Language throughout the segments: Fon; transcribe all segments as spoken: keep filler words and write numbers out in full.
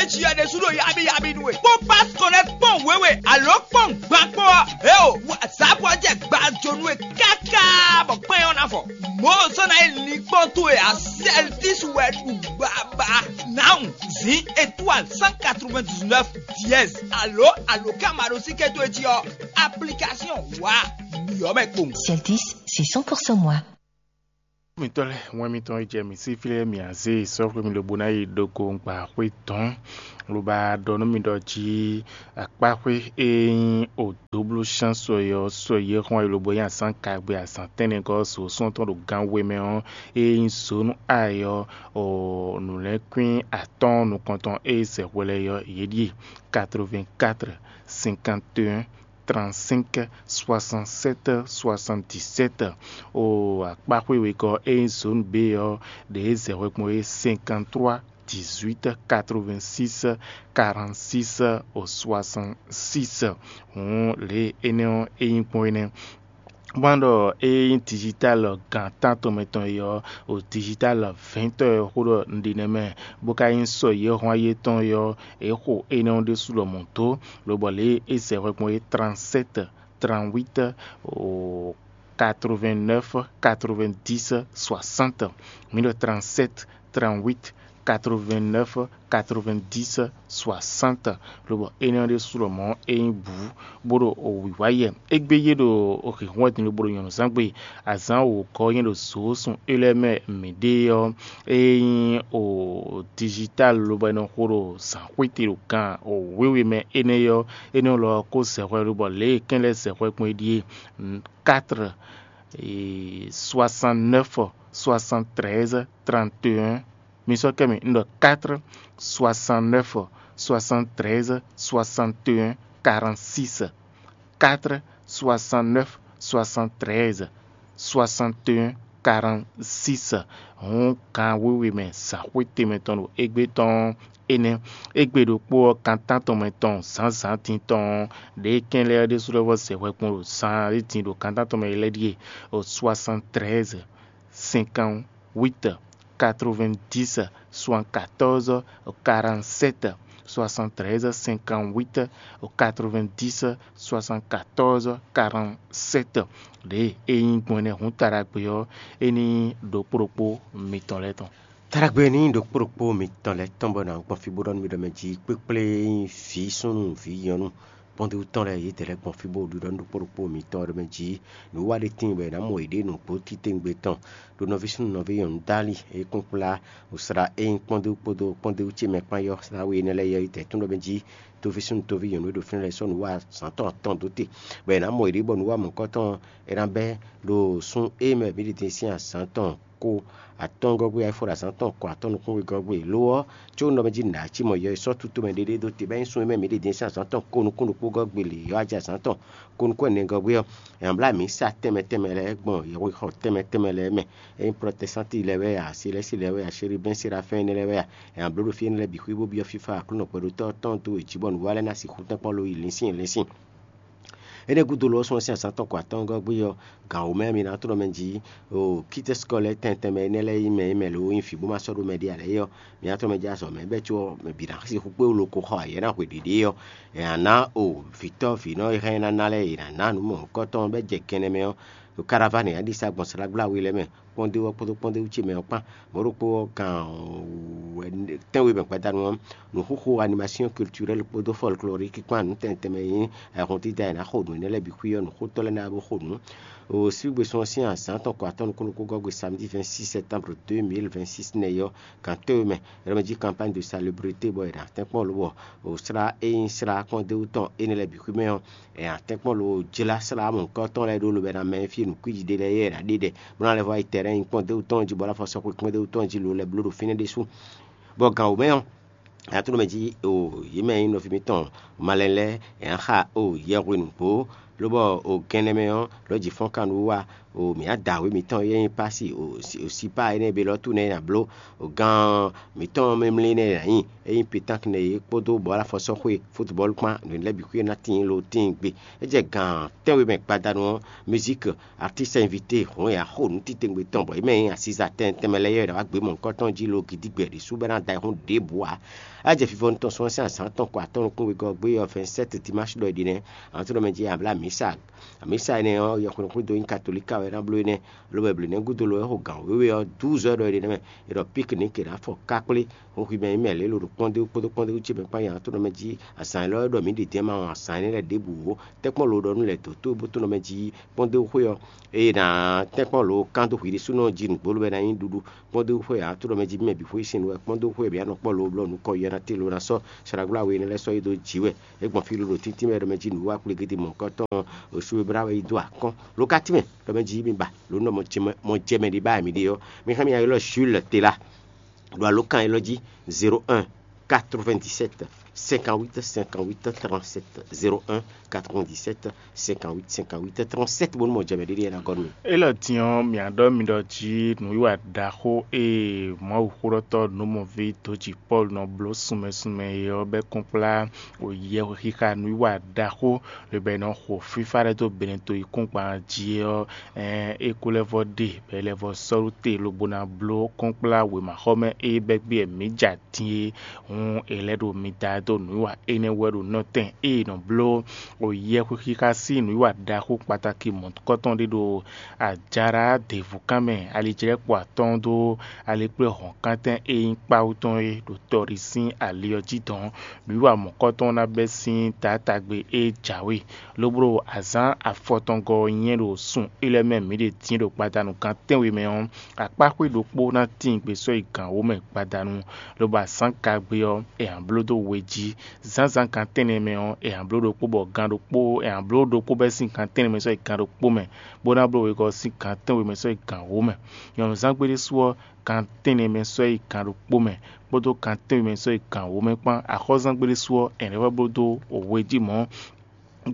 Jia ɖésú ɖo yabi yabi nú we. Kpɔ́n pas kɔnɛ́ kpɔ́n wěwe alo kpɔ́n gban kpɔ́n ɔ́, eo, wǎzápɔ jɛ gbajonu e káká bɔ kpɛn ɔ́ ná fɔ. Mɔ̌ zɔ́n ná yi linkpɔ́n towe a, Celtis wɛ ɖu gbaba. Now zǐn étoile cent quatre-vingt-dix-neuf dièse alo alǒkanmaɖósíké towe jí ɔ́, application wǎ nǔyɔ́ mɛ kpowun. Celtis, c'est cent pour cent moi. Mitɔ́ lɛ́ɛ, wɛn mitɔn e jɛ mǐ sí fí lɛ́ɛ mǐ á zé sɔ́ xwé mì lobo ná yi ɖo go gbǎxwé dɔ̌n, lobo ɖɔ nú mi ɖɔ jí akpáxwé e nyí odǒblúshán sɔ e ɔ́, sɔ e xɔ́n e lobo nyí azǎn kagbe azǎn tɛ́nnɛgɔ́ ɔ́, sǒsɔ́n tɔn ɖo gan we mɛ ɔ́, e nyí zǒnú ayi ɔ́, nǔlɛ́nkwín atɔ́ɔ́n nukɔntɔn e zɛ hwɛ lɛ́ɛ ɔ́, yě ɖíe: quatre-vingt-quatre, cinquante et un, trente-cinq, soixante-sept, soixante-dix-sept. O akpáxwé wegɔ́ e nyí zone B ɔ́, ɖě zɛ hwɛkpɔ́n é: cinquante-trois, dix-huit, quatre-vingt-six, quarante-six, soixante-six. Hǔn lě énɛ́ ɔ́ é nyí gbɔn énɛ́. Bó ná ɖɔ ée nyí digital gan tántɔn mɛ tɔn é ɔ́, o digital vɛ̌ntɔ́ e xó ɖɔ un ɖe nɛ́ mɛ, bó ka nyí sɔ yě hɔn ayé tɔn é ɔ́, é xo énɛ́ ɔ́ ɖésú lɔmɔ̌ dó, lobɔ lě e é zɛ hwɛkpɔ́n é: trente-sept, trente-huit, quatre-vingt-neuf, quatre-vingt-dix, soixante. Mǐ ɖɔ trente-sept, trente-huit, quatre-vingt-neuf, quatre-vingt-dix, soixante. Lobɔ énɛ́ ɔ́ ɖésú lɔmɔ̌ é nyí bǔ, bó ɖo wǐwá yɛ. Égbé yě ɖo hǐnhɔ́n wɛ din lobo ɖo nyɔ̌nuzángbe. Azǎn wǒgɔ́ nyɛ ɖo zǒ sun é lɛ́ɛ mɛ mǐɖée ɔ́, é nyí o digital lobo è nɔ xo ɖo zǎnxwéte ɖo gan wěwe mɛ énɛ́ ɔ́, énɛ́ lɔ ɔ́ kó zɛ hwɛ lobɔ lě e kɛ́n lɛ́ɛ zɛ hwɛ gbɔn é ɖíe: quatre, soixante-neuf, soixante-treize, trente et un. Mi sɔ́ kɛ mi un ɖɔ quatre, soixante-neuf, soixante-treize, soixante et un, quarante-six. Quatre, soixante-neuf, soixante-treize, soixante et un, quarante-six. Hǔn gan wěwe mɛ zǎnxwéte mɛ tɔn ɖo égbé tɔn énɛ́. Égbé ɖokpó ɔ́, kan tántɔn mɛ tɔn zǎnzǎn din tɔn ɔ́, ɖě kɛn lɛ́ɛ ɖésú lɛ́ vɔ zɛ hwɛ kpɔn ɖo zan e din ɖo kan tántɔn mɛ é lɛ́ɛ ɖíe: soixante-treize, cinquante-huit, quatre-vingt-dix, soixante-quatorze, quarante-sept, soixante-treize, cinquante-huit, quatre-vingt-dix, soixante-quatorze, quarante-sept. Ɖě e nyí gbɔn énɛ́ hǔn taɖagbe ɔ́, é ní ɖokpó ɖokpó mitɔn lɛ́ɛ tɔn. Taɖagbe ní ɖokpó ɖokpó mitɔn lɛ́ɛ tɔn bɔ nǎ gbɔn fí bó ɖɔ nú mi ɖɔ mɛ jí kpékplé e nyí vǐ súnnu vǐ nyɔ̌nu kpɔ́ndéwú tɔn lɛ́ɛ yědɛɛ lɛ́ɛ gbɔn fí bó ɖiɖɔ nú ɖokpó ɖokpó mitɔn ɖɔ mɛ jí nǔwiwa ɖé tíin bɔ è nǎ mɔ yěɖée nǔgbó titewungbe tɔn ɖo nɔví súnnu nɔví nyɔ̌nu dali e kún kplá wǔsla e nyí kpɔ́ndéwú kpódó kpɔ́ndéwú ce mɛ kpán yɔ́ slá we énɛ́ lɛ́ɛ yɔ́ yi tɛ̌tún ɖɔ mɛ jí toví súnnu toví nyɔ̌nu e ɖo fínɛ́ lɛ́ɛ sɔ́ nǔwiwa zǎn tɔn atɔn dó te, bɔ è nǎ mɔ yěɖée bɔ nǔwiwa mɔ̌hunkɔtɔn tɔn è nǎ bɛ́ ɖo sún e mɛ mǐ ɖi din sín azǎn tɔn ko atɔ́ɔ́ngɔ́gbé wá yi fó ɖo azǎn tɔn ko atɔ́ɔ́n nukún wegɔ́gbé. Lo ɔ́, có un ɖɔ mɛ jí nǔɖaxi mɔ yɔ e sɔ́ tútú mɛ ɖéɖé dó te bɔ é nyí sun e mɛ mǐ ɖe din sín azǎn tɔn ko nukún ɖokpó gɔ́ gbe lě ɔ́ wá jɛ azǎn tɔn ko nukún ɛnɛ gɔ́gbé ɔ́, è nǎ bló amǐ sa tɛnmɛ tɛnmɛ lɛ́ɛ gbɔn yɛhwexɔ tɛnmɛ tɛnmɛ lɛ́ɛ mɛ. É nyí protɛstánti lɛ́ɛ wɛ a, selɛ́si lɛ́ɛ wɛ a, seribɛ́n serafɛ́n énɛ́ lɛ́ɛ wɛ a, è nǎ bló ɖo fí énɛ́ lɛ́ɛ bǐ xwí bó byɔ́ fífá Aklúnɔ gbɛɖotɔ́ tɔn dó wě jí bɔ nǔwiwa lɛ́ɛ ná sixú tɛ́nkpɔ́n lo yi lǐnsín lǐnsín. Énɛ́ gúdo lo ɔ́, sɔ́ sín azǎn tɔn ko atɔ́ɔ́ngɔ́ gbé ɔ́, gǎn wǒ mɛ ɔ́, mi ná tlɔ́n mɛ jí o kítɛ́ sikɔ lɛ́ɛ tɛn tɛnmɛ énɛ́ lɛ́ɛ nyí mɛ e mɛ lǒ nyí vǐ bó ma sɔ́ ɖó mɛ ɖé ǎ lɛ́ɛ é ɔ́, mi ná tlɔ́n mɛ jí azɔ̌ mɛ bɛ́ có bǐ ná xixú kpé wú lo ko xɔ ayǐ ná hwe ɖěɖée ɔ́, è nǎ ná o vǐtɔ́ vǐnɔ e hɛn ná ná lɛ́ɛ è nǎ ná nǔ mɔ̌hunkɔtɔn bɛ́ jɛ kɛnɛ mɛ ɔ́, ɖo karavani ǎ ɖi sa gbɔn slágbláwe lɛ́ɛ mɛ kpɔ́ndéwú ɔ́ kpódó kpɔ́ndéwú ce mɛ ɔ́ kpán. Mɔ̌ ɖokpó ɔ́, gan tɛ́nwe mɛ gbadanu ɔ́, nǔxoxo animation culturelle kpódó folklorique kpán nǔ tɛnmɛ tɛnmɛ e nyí ayǐhɔ́n dídá e è nǎ xo nǔ énɛ́ lɛ́ɛ bǐ xwí ɔ́, nǔxótɔ́ lɛ́ɛ ná bó xo nǔ. O sígbé sɔ́ sín azǎn tɔn ko atɔ́ nukún nukún gɔ́ gbe samedi vingt-six septembre deux mille vingt-six nɛ́ ɔ́, gan tɛ́nwe mɛ è nɔ mɛ jí campagne de salubrité bɔ è nǎ tɛ́nkpɔ́n lobɔ o slá e nyí slá kpɔ́ndéwú tɔn énɛ́ lɛ́ɛ bǐ xwí mɛ ɔ́, è nǎ tɛ́nkpɔ́n lo jlá slá mɔ̌hunkɔtɔn lɛ́ɛ ɖó lobɛ ná mɛ fí nǔkwíji ɖé lɛ́ɛ yɛ è nǎ ɖe ɖɛ bó ná lɛ́ vɔ yi tɛrɛ́n nyí kpɔ́ndéwú tɔn jí bɔ ná fɔ sɔxwe kpɔ́ndéwú tɔn jí lo lɛ́ɛ bló ɖo fínɛ́ ɖésú. Bɔ gan wǒ mɛ ɔ́, a tló mɛ jí o yě mɛ nyí nɔví mitɔn malɛn lɛ́ɛ è nǎ xa o yɛhwe nǔgbó Lobɔ o gɛnɛ mɛ ɔ́, lɔ̌ jǐ fɔ́n kan nú wa o mǐ adǎwe mǐtɔn e nyí Pasi o sipá énɛ́ e Belɔ́tu nɛ́ ná bló o gán mǐtɔn mɛmlí nɛ́ ná nyí e nyí Petánk nɛ́ é kpódó bɔ̌lafɔsɔ́xwe futbɔ́lu kpán nǔ lɛ́ɛ bǐ xwíe ná tíin lo tíin gbe. É jɛ gǎn tɛ́nwe mɛ gbadanu ɔ́, mizík, artíst invité hɔn ya xo nǔ titewungbe tɔn bɔ é mɛ nyí asiza tɛn tɛnmɛ lɛ́ɛ yɔ́ è nǎ wá gbě mɔ̌hunkɔtɔn jí lo gidigbɛ ɖésú bɔ é ná da ayihún ɖěbǔ ǎ. A jɛ fifɔnu tɔn sún ɔ́ sín azǎn tɔn ko atɔ́ nukúnwegɔ́ gbé ɔ́ vɛ̌nsɛ́t dimáshi ɖɔ è ɖi nɛ́, ahan tó nɔ mɛ jí Abla Misa. Amisa énɛ́ ɔ́, yɛhweɖɔxwído nyí katolíka wɛ é ná bló énɛ́, lobo è blǒ nɛ́ gúdo lo é xo gǎn wěwe ɔ́, dǔzɔ́ ɖɔ è ɖi nɛ́ mɛ, è ɖɔ pík nǐ kě ná fɔ kákplé. Hun xwi mɛ nyí mɛ lě lo ɖo kpɔ́ndéwú kpódó kpɔ́ndéwú ce mɛ kpán nyi ahan tó nɔ mɛ jí azǎn élɔ́ ɖɔ mǐ ɖi din ma wɔn azǎn énɛ́ lɛ́ɛ ɖěbǔ ó. Tɛ́nkpɔ́n lo ɖɔ nú lɛ̌ dǒtó bó tó nɔ mɛ jí kpɔ́ndéwú xwé ɔ́, ée è nǎ tɛ́nkpɔ́n lo kán dó hwi ɖésúnɔ jí nǔgbó lobo ná nyí ɖuɖu. Kpɔ́ndéwú xwé ahan tó nɔ mɛ jí mɛ bǐ xwé sín nǔ wɛ kpɔ́ndéwú xwé bǐ anɔ kpɔ́ lo blɔ́ nǔ kɔ yɛ ná té lo ná sɔ́ sragbláwe énɛ́ lɛ́ɛ sɔ́ yí dó jǐ wɛ. É gbɔn fí ló ɖo tíntín mɛ ɖɔ mɛ jí nǔwiwa kplé gédé mɔ̌hunkɔtɔn osúwe blá wɛ yi dó akɔ́n. Lo ka tínmɛ ɖɔ mɛ jí mi ba lǒ nɔ mɔ jɛ mɛ ɖi ba mǐ ɖe ɔ́, mi hɛn mi ylɔ́ Jules Tela ɖo alǒkan élɔ́ jí: zéro un, quatre-vingt-dix-sept, cinquante-huit, cinquante-huit, trente-sept, zéro un, quatre-vingt-dix-sept, cinquante-huit, cinquante-huit, trente-sept, bónú mɔ jɛ mɛ ɖé ɖíe ná gɔ́ nú mì. Élɔ́ din ɔ́, mǐ á ɖɔ mi ɖɔ jí nǔwiwa ɖaxó e Mawuxóɖɔtɔ́ nǔmɔví dǒjí Pɔ́lu nɔ bló sunmɛ sunmɛ é ɔ́ bɛ́ kɔn kplá yɛhwexixa nǔwiwa ɖaxó, lobo è nɔ xo fífá ɖé dó Benɛto yíkúngban jí é ɔ́, é kú lɛ́ vɔ ɖe, bɔ é lɛ́ vɔ sɔ́ ɖó te lobo ná bló kɔ́nkplá wěmaxɔmɛ e bɛ́ gbé mǐ ja din é. Hǔn è lɛ́ ɖo mi da dó nǔwiwa énɛ́ wɛ ɖo nɔtɛn e è nɔ bló o yɛhwexixa sín nǔwiwa ɖaxó kpatáki mɔ̌hunkɔtɔn ɖé ɖo Ajalá děvúkan mɛ, alijlɛ́kpo atɔ́ɔ́n dó alikpléhɔ̌nkántɛn e nyí kpáwú tɔn é ɖo tɔɖi sín ali ɔ́ jí dɔn. Nǔwiwa mɔ̌kɔ́tɔn ná bɛ́ sín taátagbe e jǎwe, lobo ɖo azǎn afɔtɔngɔ́ ɔ́ nyɛ ɖo sun élɔ́ mɛ mǐ ɖe din ɖo gbadanu gan tɛ́nwe mɛ ɔ́, akpáxwé ɖokpó ná tíin gbe sɔ́ yi gǎn wǒ mɛ gbadanu, lobo azǎn kagbe ɔ́, è nǎ bló dó we jí. Zǎnzǎn gan tɛ́nnɛ mɛ ɔ́, è nǎ bló ɖokpó bɔ gan ɖokpó è nǎ bló ɖokpó bɛ́ sín gan tɛ́nnɛ mɛ sɔ́ yi gan ɖokpó mɛ, bó ná bló wegɔ́ sín gan tɛ́nwe mɛ sɔ́ yi gan wǒ mɛ. Nyɔ̌nuzángbe ɖésú ɔ́, gan tɛ́nnɛ mɛ sɔ́ yi gan ɖokpó mɛ, kpódó gan tɛ́nwe mɛ sɔ́ yi gan wǒ mɛ kpán. Axɔ́zángbe ɖésú ɔ́, è nǎ vɔ́ bló dó we jí mɔ̌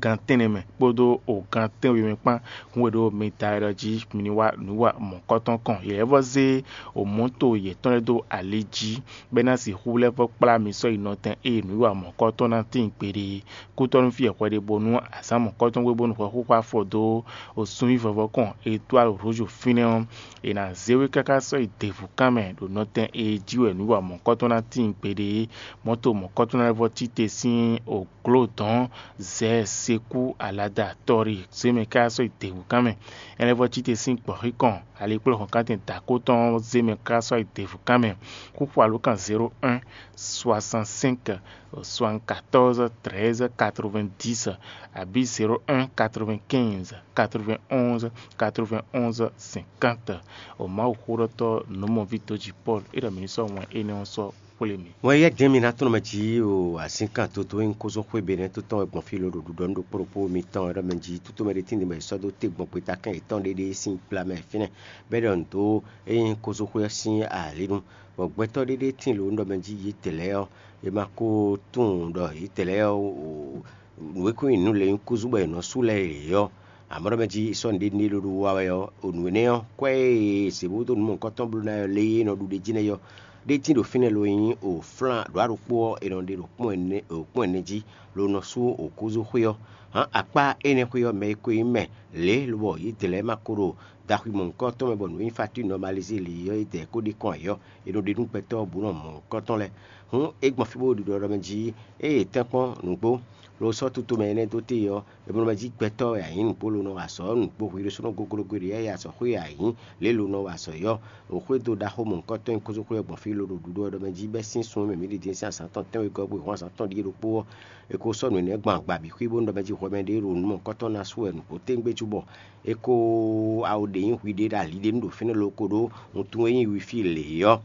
gan tɛ́nnɛ mɛ kpódó o gan tɛ́nwe mɛ kpán. Hun e ɖo mi da wɛ ɖɔ jí mi ní wá nǔ wa mɔ̌kɔ́tɔn kɔn. Yě lɛ́ vɔ́ zé o mɔ̌to yětɔn lɛ́ɛ dó ali jí, bɔ é ná sixú lɛ́ vɔ́ kplá mi sɔ́ yi nɔtɛn ée nǔ wa mɔ̌kɔ́tɔn ná tíin gbeɖé. Kútɔ́nú fí e hwɛ ɖe bónú azǎn mɔ̌kɔ́tɔn gbé bónú hwɛ xúxú afɔ dó o sunví vɔvɔ kɔn Etoile Rouge fínɛ́ ɔ́, è nǎ zé we káká sɔ́ yi děvúkan mɛ ɖo nɔtɛn e jí wɛ nǔ wa mɔ̌kɔ́tɔn ná tíin gbeɖé. Mɔ̌to mɔ̌kɔ́tɔn lɛ́ɛ vɔ́ cí te sín o glǒ dɔ̌n zɛ sekú alada tɔri zé mɛ káká sɔ́ yi děvúkan mɛ. È lɛ́ vɔ́ cí te sín gbɔ̌xíkɔn alikplɔ́hɔn kántɛn dǎkó tɔn ɔ́ zé mɛ káká sɔ́ yi děvúkan mɛ. Xúxú alǒkan zéro un, soixante-cinq, soixante-quatorze, treize, quatre-vingt-dix, abǐ zéro un, quatre-vingt-quinze, quatre-vingt-onze, quatre-vingt-onze, cinquante. O Mawuxóɖɔtɔ́ nǔmɔví dǒjí Pɔ́lu é ɖɔ mǐ ní sɔ́ wɛn énɛ́ ɔ́ sɔ́ xwlé mì. Wɛn yɛ́ jɛ́n mi ná tlɔ́n mɛ jí o azǐnkan toto e nyí kózó xwé Benɛ́to tɔn wɛ gbɔn fí lǒ ɖo ɖuɖɔ nú ɖokpó ɖokpó mitɔn wɛ ɖɔ mɛ jí toto mɛ ɖé tíin ɖě mɛ è sɔ́ dó te gbɔn gbeta kɛn yětɔn ɖéɖé sín gbla mɛ fínɛ́, bɔ é ɖɔ nǔ dó é nyí kózó xwé ɔ́ sín alǐnu. Bɔ gbɛtɔ́ ɖéɖé tíin lǒ ɖɔ mɛ jí yě dě lɛ́ɛ ɔ́, è ma ko tunwun ɖɔ yě dě lɛ́ɛ ɔ́, nǔ e kún nyi nǔ lě nyí kúzú bɔ è nɔ sú lɛ́ɛ yě ɔ́, amɔ̌ ɖɔ mɛ jí sɔ́ nǔɖé nú ɖé ɖó wa wɛ ɔ́, o nǔ énɛ́ ɔ́, kwɛ́ e è zě bó dó nǔ mɔ̌hunkɔtɔn bló ná ɔ́ lé e nɔ ɖu ɖ'é jí nɛ́ yɔ́. Ɖé tíin ɖo fínɛ́ lo nyí o flán ɖǒ aɖokpó ɔ́, è nɔ ɖe ɖo kpɔ́n ɛnɛ ɖo kpɔ́n ɛnɛ jí, lo nɔ sú o kúzú xwé ɔ́. Hǎn akpá énɛ́ xwé ɔ́, mɛ e ko nyí mɛ lě lobɔ yě dě lɛ́ɛ ma ko ɖo daxwi mɔ̌hunkɔtɔn mɛ bɔ nǔ e nyí fatín nɔmalizé lě ɔ́, yě dɛ kó ɖi kɔn ayǐ ɔ́, è nɔ ɖe nú gbɛtɔ́ ɔ́ bǔ nɔ mɔ̌hunkɔtɔn lɛ́ɛ. Hǔn é gbɔn fí bó ɖiɖɔ ɖɔ mɛ jí, ée è tɛ́nkpɔ́n nǔgbó, lo sɔ́ tutomɛ énɛ́ dó te ɔ́, è bló mɛ jí gbɛtɔ́ wɛ a nyǐ nǔgbó lo nɔ wa azɔ̌ ɔ́ nǔgbó hwi ɖésúnɔ goglogbé ɖě yɛ azɔ̌xwé a nyǐ lě lo nɔ wa azɔ̌ é ɔ́. Xwédo ɖaxó mɔ̌hunkɔtɔn e kúzúxwé ɔ́ gbɔn fí lo ɖo ɖuɖu ɔ́ ɖɔ mɛ jí bɛ́ sín súnnu mɛ mǐ ɖi din sín azǎn tɔn tɛ́nwegɔ́ bó hɔn azǎn tɔn ɖíe ɖokpó ɔ́, è ko sɔ́ nǔ énɛ́ gbɔn agba bǐ xwí bónú ɖɔ mɛ jí hwɛ mɛ ɖé ɖo nǔ mɔ̌hunkɔtɔn ná sú wɛ nǔgbó téŋgbé cúbɔ è ko awo ɖě nyí hwi ɖé ɖo ali ɖé nu ɖo fínɛ́ lo ko ɖó wuntun e nyí wifí lě ɔ́.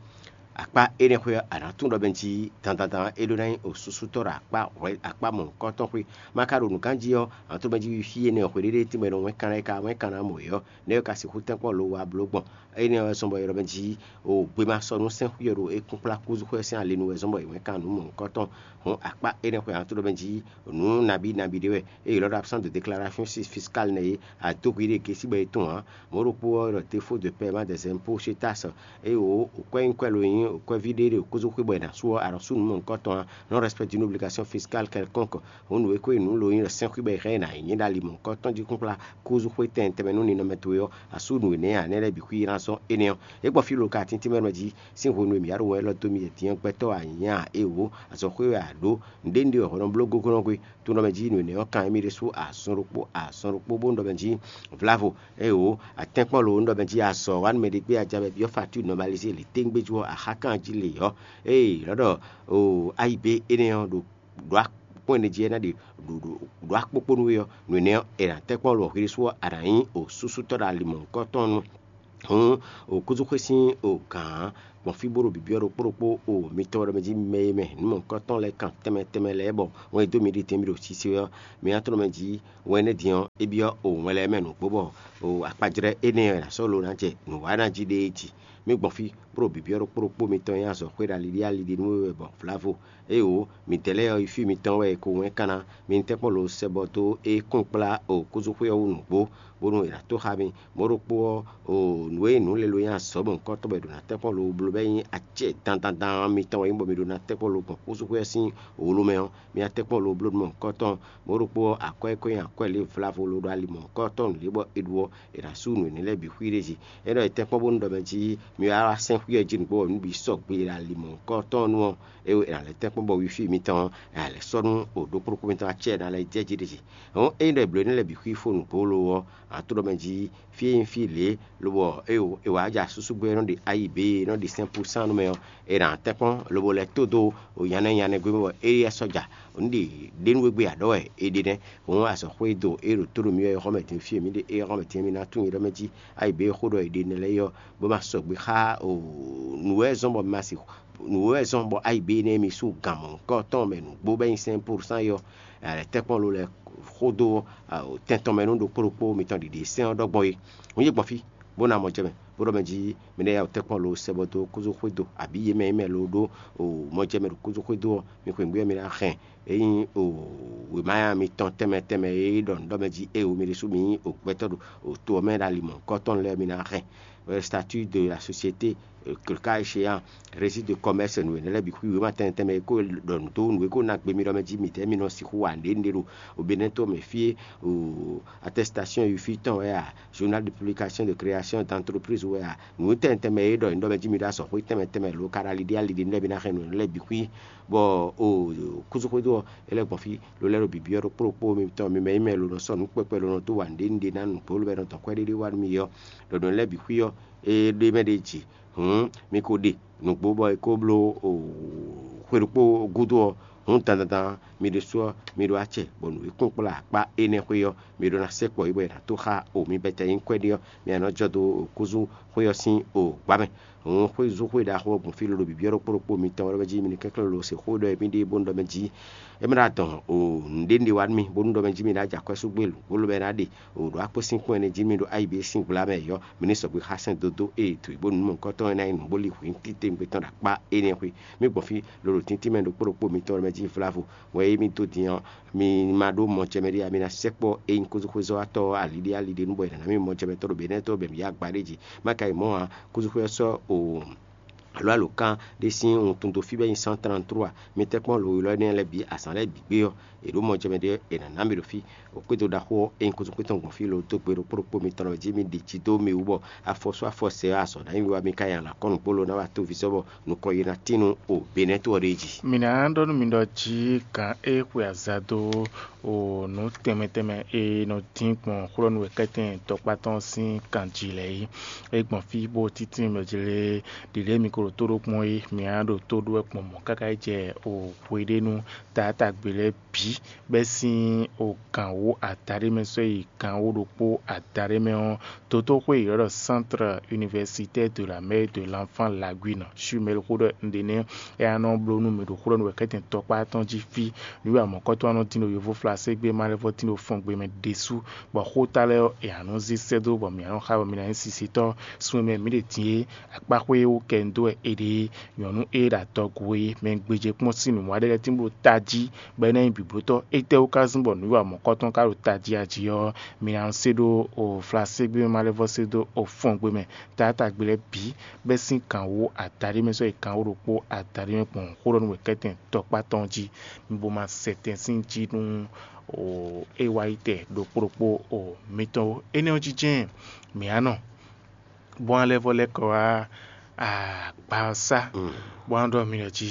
Akpá énɛ́ xwé ɔ́, a nǎ tún ɖɔ mɛ jí dandandan é ɖó ná nyí osúsútɔ́ ɖo akpá hwɛ akpá mɔ̌hunkɔtɔn xwé. Ma ka ɖo nǔ gán jí ɔ́, ǎ tó mɛ jí fí énɛ́ hweɖéɖé tínmɛ ɖo wɛnkanɖá e ka wɛnkanɖá mɔ é ɔ́, nɛ́ ɔ́ ka sixú tɛ́nkpɔ́n lo wá bló gbɔn. Énɛ́ ɔ́ wɛ zɔ́n bɔ è ɖɔ mɛ jí o gbema sɔ́ nú sɛ́nxú ɔ́ ɖo é kúnkplá kúzú xwé sín ali nu wɛ zɔ́n bɔ è wɛnkan nǔ mɔ̌hunkɔtɔn. Hǔn akpá énɛ́ xwé ǎ tó ɖɔ mɛ jí nǔ nabí nabí ɖé wɛ, ée è lɔ́ ɖɔ absence de déclaration fiscale nɛ́ é, adóhwi ɖé gěsí bɔ è tunwun ǎ. Mɔ̌ ɖokpó ɔ́, ɖɔ défaut de paiement des impôts chez taxe, eye wǒ kwɛ́ nyí kwɛ́ lo nyí kwɛ́ví ɖé ɖo kúzú xwé bɔ è nǎ sú ɔ́, a nɔ sú nǔ mɔ̌hunkɔtɔn ǎ. Non respect d'une obligation fiscale quelconque, hǔn nǔ e ko nyí nǔ lo nyí ɖɔ sɛ́nxwé bɔ è hɛn ɛ nǎ nyí ɖo ali mɔ̌hunkɔtɔn jí kúnkplá kúzú xwé tɛnmɛ tɛnmɛ nú ninɔmɛ towe ɔ́, a sú nǔ énɛ́ ǎ, nɛ́ lɛ́ɛ bǐ xwí ná zɔ́n énɛ́ ɔ́. É gbɔn fí lo ka tíntín mɛ nɔ jí sín hwenu e mǐ wá ɖo wɛn élɔ́ dó mì é din ɔ́, gbɛtɔ́ ǎ nyí a é wǒ, azɔ̌ xwé wɛ a ɖǒ, nǔɖé nǔɖé wɛ hwɛ nɔ bló gogónɔ gbe. Tónɔmɛ jí nǔ énɛ́ ɔ́ kan émí ɖésú azɔn ɖokpó azɔn ɖokpó bó nɔ ɖɔ mɛ jí vlavo, ée wǒ, atɛ́nkpɔ́n lo nɔ ɖɔ mɛ jí azɔ̌ wa nú mɛ ɖé gbé aja bɔ è byɔ́ facture normalisé lě téŋgbé jú ɔ́, axá kan jí lě ɔ́, ée lɔ̌ ɖɔ o ayigbe énɛ́ ɔ́ ɖo ɖǒ akpɔ́n énɛ́ jí é ná ɖe ɖo ɖo ɖǒ akpókpó nú we ɔ́, nǔ énɛ́ ɔ́, è nǎ tɛ́nkpɔ́n lo hwi ɖésú ɔ́, a nǎ nyí osúsútɔ́ ɖo ali mɔ̌hunkɔtɔn nu. Hǔn, okúzúxwé sín ogǎn gbɔn fí bó ɖo bǐbyɔ́ ɖokpó ɖokpó o mitɔn ɖɔ mɛ jí mɛ e mɛ nǔ mɔ̌hunkɔtɔn lɛ́ɛ kan tɛnmɛ tɛnmɛ lɛ́ɛ bɔ wɛn e dó mi ɖi din mi ɖo sise ɔ́, mi ná tlɔ́n mɛ jí wɛn énɛ́ din ɔ́, é byɔ́ o wɛn lɛ́ɛ mɛ nǔgbó bɔ o akpajlɛ́ énɛ́ ɔ́ è nǎ sɔ́ lo ná jɛ nǔwanná jí ɖéé jí. Mi gbɔn fí bó ɖo bǐbyɔ́ ɖokpó ɖokpó mitɔn nyí azɔ̌xwé ɖo ali ɖé ali ɖé nú we wɛ bɔ vlavo. Éeǒ, midɛɛ lɛ́ɛ ɔ́, yi fí mitɔn wɛ è ko wɛn kanna. Mi ní tɛ́nkpɔ́n lo sɛ bɔ dó é kɔn kplá okúzúxwé ɔ́ wú nǔgbó, bónú è nǎ tó xá mi. Mɔ̌ ɖokpó ɔ́, o nǔ e nǔ lɛ́ɛ lo nyí azɔ̌ mɔ̌hunkɔtɔn bɔ è ɖǒ ná tɛ́nkpɔ́n lo bló bɔ é nyí acɛ dandandan mitɔn wɛ nyí bɔ mi ɖó ná tɛ́nkpɔ́n lo gbɔn kúzúxwé ɔ́ sín wǒ ló mɛ ɔ́, mi ná tɛ́nkpɔ́n lo bló nú mɔ̌hunkɔtɔn. Mɔ̌ ɖokpó ɔ́, akwɛ́ e ko nyí akwɛ́ lě vlavo lo ɖo ali mɔ̌hunkɔtɔn nǔ lě bɔ è ɖu ɔ́, è nǎ sú nǔ énɛ́ lɛ́ɛ bǐ xwí ɖ'é jí. É ɖɔ è tɛ́nkpɔ́n bónú ɖɔ mɛ jí mi wá wá sɛ́n xwí ɔ́ jí nǔgbó bɔ nǔ bǐ sɔgbe ɖo ali mɔ̌hunkɔtɔn nu ɔ́, é è nǎ lɛ́ tɛ́nkpɔ́n bɔ wifi mitɔn ɔ́, è nǎ lɛ́ sɔ́ nú o ɖokpó ɖokpó mitɔn acɛ è nǎ lɛ́ jɛ jí ɖ'é jí. Hɔn ényí ɖɔ è blǒ énɛ́ lɛ́ɛ bǐ xwí fó nǔgbó lo ɔ́, a to ɖɔ mɛ jí fí e nyí fí lě, lobɔ é wǎ jɛ asúsúgbɛ́ e nɔ ɖe ayi bě e nɔ ɖe sɛ́n púsán nú mɛ ɔ́, è nǎ tɛ́nkpɔ́n lobo lɛ́ tó dó nyanya nyanya gbé mɛ bɔ Eliyɛ́ sɔ́ja, nǔ ɖe ɖě nú we gbé a ɖɔ wɛ è ɖe nɛ́. Hǔn azɔ̌xwé e do é ɖo tó ɖo mì wɛ é xɔ mɛ din fí e mǐ ɖe é xɔ mɛ din mì ná tunwun é ɖɔ mɛ jí ayi bě e xó ɖɔ è ɖe nɛ́ lɛ́ɛ é ɔ́, bó ma sɔgbe xá o nǔ wɛ zɔ́n bɔ mi ma se nǔ wɛ zɔ́n bɔ ayi bě énɛ́ mi sú gan mɔ̌hunkɔtɔn mɛ nǔgbó bɔ é nyí sɛ́n púsán é ɔ́, è nǎ lɛ́ tɛ́nkpɔ́n lo lɛ́ xó dó tɛn tɔn mɛ nú ɖokpó ɖokpó mitɔn ɖiɖe sɛ́n ɔ́ ɖɔ gbɔn é. Hǔn yi gbɔn fí, bó ná mɔ jɛ mɛ, bó ɖɔ mɛ jí mi ná ya wǔ tɛ́nkpɔ́n lo sɛ bɔ dó kúzú xwédo, abǐ yě mɛ e mɛ lo ɖó o mɔ jɛ mɛ ɖo kúzú xwédo ɔ́, mi xweyǐgbe ɔ́ mi ná hɛn. Ényí o wěma mitɔn tɛnmɛ tɛnmɛ e ɖɔ nǔ ɖɔ mɛ jí éeǒ mi ɖésú mi nyí o gbɛtɔ́ ɖo o to ɔ́ mɛ ɖo ali mɔ̌hunkɔtɔn lɛ́ɛ mi ná hɛn. Statut de la société, le cas échéant, registre de commerce, nǔ énɛ́ lɛ́ɛ bǐ xwí wěma tɛnmɛ tɛnmɛ e ko ɖɔ nǔ dó nǔ e ko ná gbe mi ɖɔ mɛ jí midɛɛ mi nɔ sixú wa nǔɖé nǔɖé ɖo o Benɛ́ to mɛ fí é, o attestation e fí tɔn wɛ a, journal de publication de création d'entreprise wɛ a, nǔ tɛnmɛ tɛnmɛ e ɖɔ nyǐɖɔ mɛ jí mi ɖo azɔ̌xwé tɛnmɛ tɛnmɛ lo ka ɖo ali ɖé ali ɖé nú lɛ́ɛ mi ná hɛn nǔ lɛ́ɛ bǐ xwí, bɔ o kúzúxwédo ɔ́, é lɛ́ gbɔn fí lo lɛ́ ɖo bǐbyɔ́ ɖokpó ɖokpó mitɔn mi mɛ nyí mɛ lo nɔ sɔ́ nǔ kpɛkpɛ lo nɔ dó wa nǔɖé nǔɖé ná nǔgbó lobɛ nɔ dɔn kwɛ́ ɖéɖé wá nú mi ɔ́, ɖɔ nǔ lɛ́ɛ bǐ xwí ɔ́, é ɖ'é mɛ ɖ'é jí. Hǔn mi ko ɖe nǔgbó bɔ è ko bló xwe ɖokpó gúdo ɔ́, hǔn dandandan mi ɖésú ɔ́, mi ɖó acɛ bɔ nǔ e kún kplá akpá énɛ́ xwé ɔ́, mi ɖó ná sɛkpɔ é bɔ è nǎ tó xá o mi bɛ́tɛ́ nyí kwɛ́ɖé ɔ́, mi ná nɔ jɔ dó kúzú xwé ɔ́ sín o gbǎ mɛ. Hǔn xwézú xwé ɖaxó ɔ́ gbɔn fí lolo bǐbyɔ́ ɖokpó ɖokpó mitɔn wɛ jí mi ní kɛnklɛ́n lo se xó ɖɔ mì ɖe bónú ɖɔ mɛ jí é mɛ ɖo adɔn o nǔɖé nǔɖé wá nú mì bónú ɖɔ mɛ jí mi ná jɛ akwɛ́ sú gbé lǔngbó lobɛ ná ɖe o ɖo akpó sín kpɔ́n ɛnɛ jí mi ɖo ayi bě sín gbla mɛ yɔ mi ní sɔgbe xá sɛn dódó ée to bó nǔ mɔ̌hunkɔtɔn e ná nyí nǔ bó lí hwǐ títewungbe tɔn ɖo akpá énɛ́ xwé. Mì gbɔn fí lolo tíntín mɛ ɖokpó ɖokpó mitɔn mɛ jí vlavo wɛ é mì dó din ɔ́, mi ma ɖó mɔjɛmɛ ɖé ǎ, mi ná sɛkpɔ́ ényí kúzúxwézɔ́watɔ́ ɔ́ ali ɖé ali ɖé nú bɔ è nǎ ná mì mɔjɛmɛtɔ́ ɖo Benɛ́ to bɔ mǐ yi agba ɖé jí. Má ka yi mɔ̌ ǎ, kúzúxwé ɔ́ sɔ́ o alo alǒkan ɖé sín wuntun dó fí bɔ é nyí cent trente-trois. Mi tɛ́ kpɔ́n lo élɔ́ énɛ́ lɛ́ɛ bǐ azǎn lɛ́ɛ bǐ gbé ɔ́, è ɖǒ mɔjɛmɛ ɖé è nǎ ná mì ɖo fí. Xwédo ɖaxó ɔ́, ényí kúzúxwé tɔn gbɔn fí lo dó gbe ɖokpó ɖokpó mitɔn lɔ jí mi ɖi jí dó mi wú bɔ afɔ sú afɔ sɛ ɔ́, azɔ̌ ná nyí we wá mi ka nyi alǎ kɔ́ nǔgbó lo ná wá tó vǐ sɔ́ bɔ nukɔn yi ná tín nú o Benɛ́ to ɔ́ ɖ'é jí. Mǐ ná ɖɔ nú mi ɖɔ jí gǎn e xwe azǎn dó o nǔ tɛnmɛ tɛnmɛ e nɔ dín gbɔn xwlɔ́nú wɛ kɛ́tɛn tɔkpá tɔn sín kan jí lɛ́ɛ é, é gbɔn fí bó títí mɛ jí lé ɖiɖě mi ko Tó ɖó kpɔ́n é, mǐ á ɖo tó ɖó wɛ gbɔn mɔ̌ káká yi jɛ o hweɖénu taátagbe lɛ́ɛ bǐ bɛ́ sín o gǎn wó adaɖé mɛ sɔ́ yi gǎn wó ɖokpó adaɖé mɛ ɔ́, dotóxwé e ylɔ́ ɖɔ Centre Universitaire de la Mère et de l'Enfant Laguine, Chumel xó ɖɔ un ɖe nɛ́. É ná nɔ bló nú mǐ ɖo xó ɖɔ nú wɛ̌kɛ́tɛn tɔkpá tɔn jí fí. Nǔ e amɔ̌kɔ́tɔ́ ɔ́ nɔ dín ɖo yovóflaségbé ma lɛ́ vɔ́ dín ɖo fɔngbe mɛ ɖésú, bɔ xóta lɛ́ɛ ɔ́, è nǎ nɔ zé sɛ́ dó, bɔ mǐ nǎ nɔ xa, bɔ mi ná nyí sisitɔ́. Sun e mɛ mǐ ɖe din é, akpáxwé e wú kɛ un dó wɛ è ɖe é, nyɔ̌nu e ɖo adɔgo é, mɛ gbéjé kpɔ́n sín nǔwiwa ɖé lɛ́ɛ tín bló tají, bɔ é ná nyí bǐblótɔ́. Étɛ́wú ka zɔ́n bɔ nǔwiwa mɔ̌kɔ́tɔn ka ɖo tají a jí ɔ́, mi ná se ɖó o flaségbé mɛ ma lɛ́ vɔ́ se dó o fɔngbe mɛ taátagbe lɛ́ɛ bǐ, bɛ́ sín gǎn wó adaɖé mɛ sɔ́ yi gǎn wó ɖokpó adaɖé mɛ gbɔn xó ɖɔ nú wɛ̌kɛ́tɛn tɔkpá tɔn jí, mi bo ma sɛ tɛn sín jí nú o é wá yi tɛ ɖokpó ɖokpó o mitɔn ó. Énɛ́ ɔ́ jí jɛ́n mǐ á nɔ bó ná lɛ́ vɔ́ lɛ́ kɔ wá agba ɔ́ sá, bó ná ɖɔ mi ɖɔ jí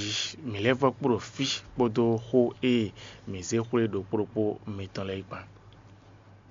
mǐ lɛ́ vɔ́ kpo ɖo fí kpódó xó e mǐ zé xwlé ɖokpó ɖokpó mitɔn lɛ́ɛ kpán.